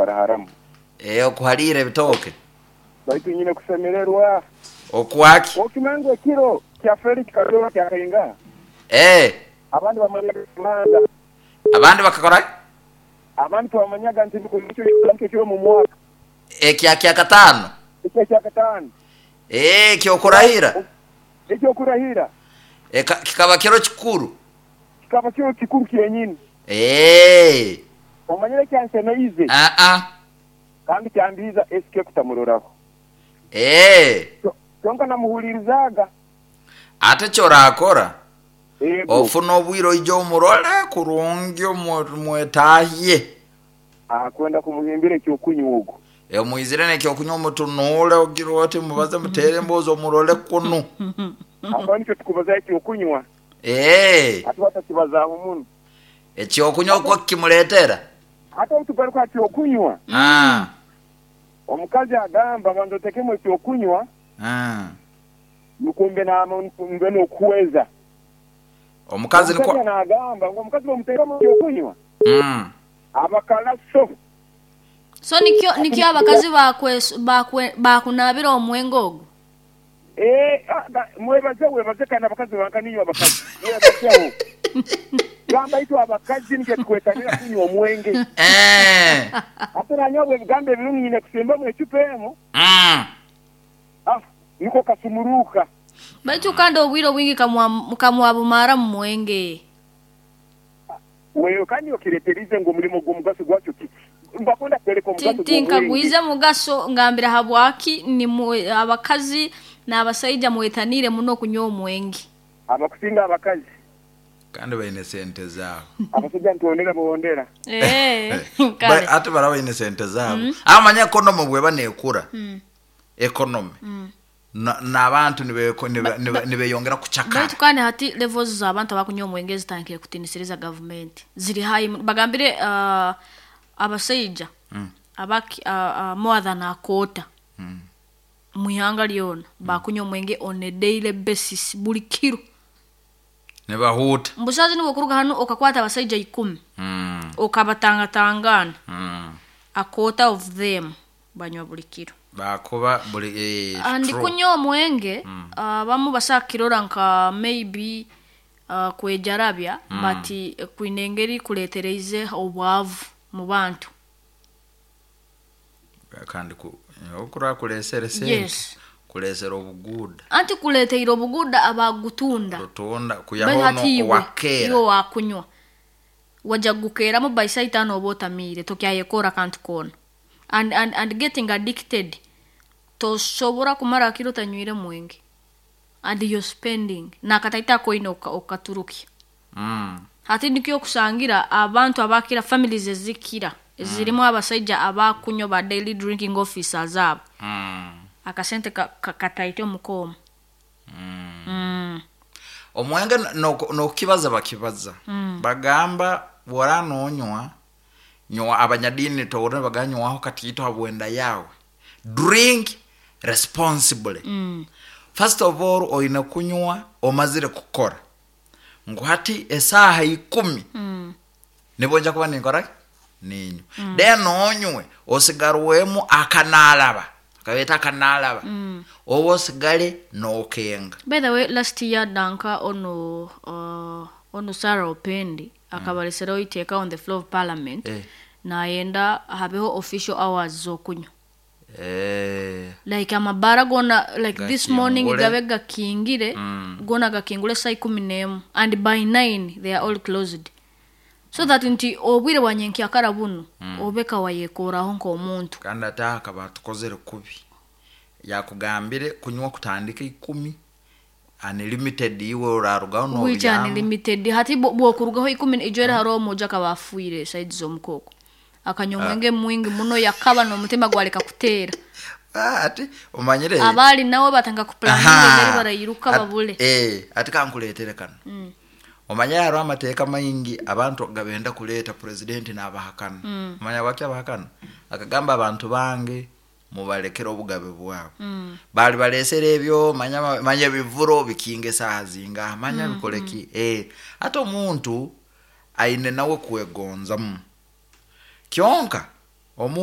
Okuharaharamu. Eh, okuhaliira ebitooke. Baitu nyine kusemererwa. Okwaki? Okimanya ngu ekiro kya Felix Kazooba kyakaingaha? Eh. Abandi bamanyaga Kimanza. Abandi bakakora ki? Abandi twamanyaga nti nikwo nikyo kiro mu mwaka. Ekya kyakataano? Ekya kyakataano. Eh, eky'okurahira? Eky'okurahira. Eka, kikaba kiro kikuru. Kikaba kiro kikuru kyenyini. Eh. Omanyire ekyansemeize? Aa. Kandi kyambiiza SK kutamuroraho. Eh. Kyonka namuhuliirizaaga. Ate ekyorakora, Ego. ofune obwire oije omurole kurungi omwetahye. Akwenda kumuhimbira ekyokunywa ogu. Omwizire n'ekyokunywa omutunuule ogire oti mubaze muteere emboozi omurole kunu. Aho nikyo tukubazaho ekyokunywa. Eeh. Hati batakibazaaho muno. Ekyokunywa okwo kimuleetera. Hati obu tugaruka ha kyokunywa. Ah. Omukazi agamba banza otekemu ekyokunywa. Ah. Nukwo mbe mbe n'okuhweza. Omukazi nikwo. Omusaija n'agamba ngu omukazi bw'omuteekamu ekyokunywa. Aba kalaso. So nikyo nikyo abakazi bakunaabira omwenge ogwo? Eeh mwebaze webaze kandi abakazi banka ninywe abakazi mwebazeho. Gamba itwe abakazi nikyo tukwetanira kunywa omwenge. Ate nanywa ebigambo ebirungi nyine kusimbamu ecupa emu. Ah niko kasumuruuka. Baitu kandi obwire obwingi kamwabumara mu mwenge. Wewe kandi okireterize ngu omulimo gw'omugaso gwakyo kiki? Mbakwenda kwoleka omugaso gw'omwenge. Tinkagwize mugaso ngambira habwaki nimwe abakazi n'abasaija mwetaniire muno kunywa omwenge. Abakusinga abakazi. Kandi baine sente zaabo. Abasaija nituhondera buhondera. Eeh kale. Ate baraba baine sente zaabo. Amanya economy bweba nekura, economy, n'abantu nibeyongera kucakara. Baitu kandi hati levels z'abantu abakunywa omwenge zitandikire kutinisiriza gavumenti. Ziri high muno. Bagambire abasaija more than a quarter mu ihanga lyona bakunywa omwenge on a daily basis buli kiro. Nibahuuta. Mbu saaha zinu bwokuruga hanu okakwata abasaija ikumi okabatangatangana, a quarter of them banywa buli kiro. Bakuba buli eh, And true. Kunywa omwenge abamu basobola kukirora nka maybe kwejarabya but kwine engeri kuleetereize obwavu mu bantu. Kandi okuraba kureesere sente. Kureesere obuguuda. Anti kuleeteire obuguuda abagutunda. Rutunda Baitu kwihaho hati ono iwe owakeera. Iwe wakunywa wajja kugukeeramu by saa itaano oba otamiire tokyayekora akantu koona. And getting addicted tosobora kumara akiro otanywire mwenge and you're spending nakataito akoine okaturukya. Hati nikyo okusangira abantu abakira families ezikira ezirimu abasaija abakunywa ba daily drinking officers abo. Akasente kataito omuka omu. Omwenge n'okukibaza bakibaza. Bagamba bw'oraba nonywa, nywa abanyadiini tohurra nibagamba nywaho katiito habw'enda yaawe. Drink responsibly. First of all oine kunywa omazire kukora. Ngu hati esaaha ikumi nibwo nja kuba ninkora ki? Niinywa. Then onywe osigarwemu akanaalaba, akabeeta akanaalaba, obe osigale nookenga. By the way, last year danka onu onu Sarah Opendi akabalesereho iteeka on the floor of parliament nayenda habeho official hours z'okunywa. Like amabaara goona like this morning Gakingure. Gabe gakingire goona gakingure saa 11 and by 9 they are all closed. So that nti obwire bwa nyenkyakara bunu obe ka wayekoraho nk'omuntu. Kandi ate aha akaba atukozere kubi. Yakugambire kunywa kutandika 10 unlimited iwe orarugaho Which nobyama. Unlimited hati bwokurugaho 10 ijo era haroho omuja akaba afiire side z'omuka okwo. Akanywa omwenge mwingi muno yakaba n'omutima gwaleka kuteera. Ah, ati omanyire. Abaali nawe batandika kuplaninga engeri barayiruka babule. Eh, ati kankuleetere kano. Omanyire hariho amateeka maingi abantu gabenda kuleeta president nabahakana. Omanya habwaki abahakana? Akagamba abantu bange mubalekere obugabe bwabo. Bali balesere ebyo manya manya ebivuro bikinga esaaha zingaha manya bikore ki. Eh, ate omuntu aine nawe kwegonzamu. Kyonka omuntu